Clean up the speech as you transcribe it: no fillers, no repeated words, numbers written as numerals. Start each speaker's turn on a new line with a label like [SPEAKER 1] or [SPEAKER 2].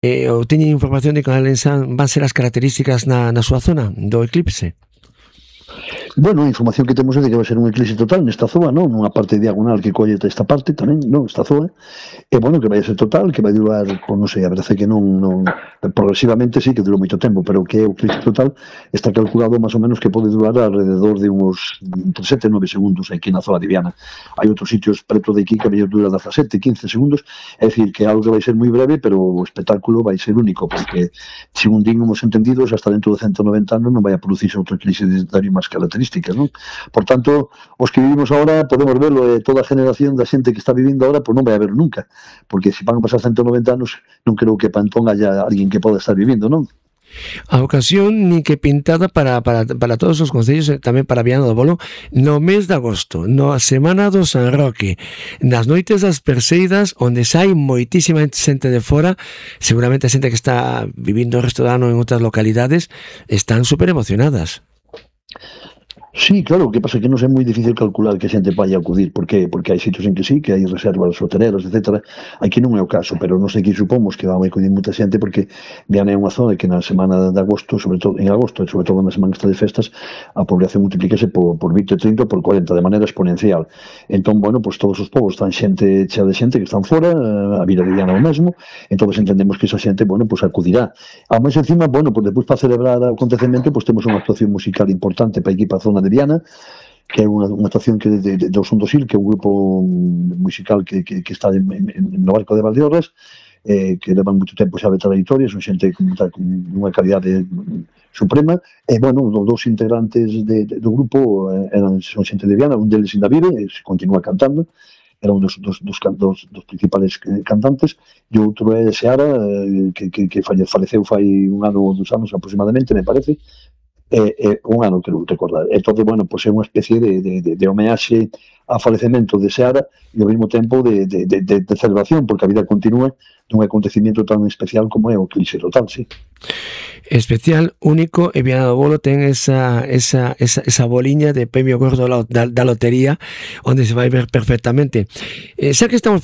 [SPEAKER 1] ou teñen información de cales van ser as características na súa zona do eclipse?
[SPEAKER 2] Bueno, a información que temos é de que vai ser un eclipse total nesta zoa, non? Nunha parte diagonal que colle esta parte tamén, non? Esta zoa. E, bueno, que vai ser total, que vai durar, pois non sei, a verdade é que non progresivamente sí que durou moito tempo, pero que é o eclipse total está calculado máis ou menos que pode durar alrededor de uns entre 7 e 9 segundos aquí na zona de Viana. Hai outros sitios preto de aquí que vai durar 17, 15 segundos, é dicir, que algo que vai ser moi breve, pero o espectáculo vai ser único, porque, según din os entendidos, hasta dentro de 190 anos non vai a producirse outro eclipse de máis características, non? Por tanto, os que vivimos agora podemos verlo, e toda a generación da xente que está vivindo agora, pois non vai a ver nunca, porque se van a pasar 190 anos, non creo que para entón haya alguén que poda estar vivindo, non?
[SPEAKER 1] A ocasión ni que pintada para todos os concellos e tamén para Viana do Bolo no mes de agosto, na semana do San Roque, nas noites das Perseidas, onde hai moitísima xente de fora, seguramente a xente que está vivindo o resto do ano en outras localidades están super emocionadas.
[SPEAKER 2] Sí, claro, o que pasa é que non é moi difícil calcular que a xente vai acudir, porque hai sitios en que sí, que hai reservas hoteleras, etc. Aquí non é o caso, pero non sei que supomos que vai acudir moita xente, porque Viana é unha zona que na semana de agosto, sobre todo en agosto, e sobre todo na semana esta de festas, a población multiplícase por 20, 30, por 40, de maneira exponencial. Entón, bueno, pues todos os povos están xente chea de xente que están fora, a Vila de Viana o mesmo, entón entendemos que esa xente, bueno, pues acudirá. A máis encima, bueno, pues despois para celebrar o acontecemento, pues temos unha actuación musical importante para aquí, para a zona de Viana, que é unha actuación que do Son do Sil, que é un grupo musical que está no Barco de Valdeorras, que levan moito tempo xa de trayectoria, son xente con unha calidade suprema, e, bueno, os dous integrantes do grupo son xente de Viana, un deles ainda vive, e se continúa cantando, era un dos principales cantantes, e outro é Seara, que faleceu fai un ano ou 2 anos aproximadamente, me parece, un ano, creo recordar. Entón, bueno, pues é unha especie de homenaxe ao falecemento de Seara e ao mesmo tempo de celebración, porque a vida continúa dun acontecimiento tan especial como é o eclipse total, sí.
[SPEAKER 1] Especial, único, e Viana do Bolo ten esa boliña de premio gordo da lotería, onde se vai ver perfectamente. Xa que estamos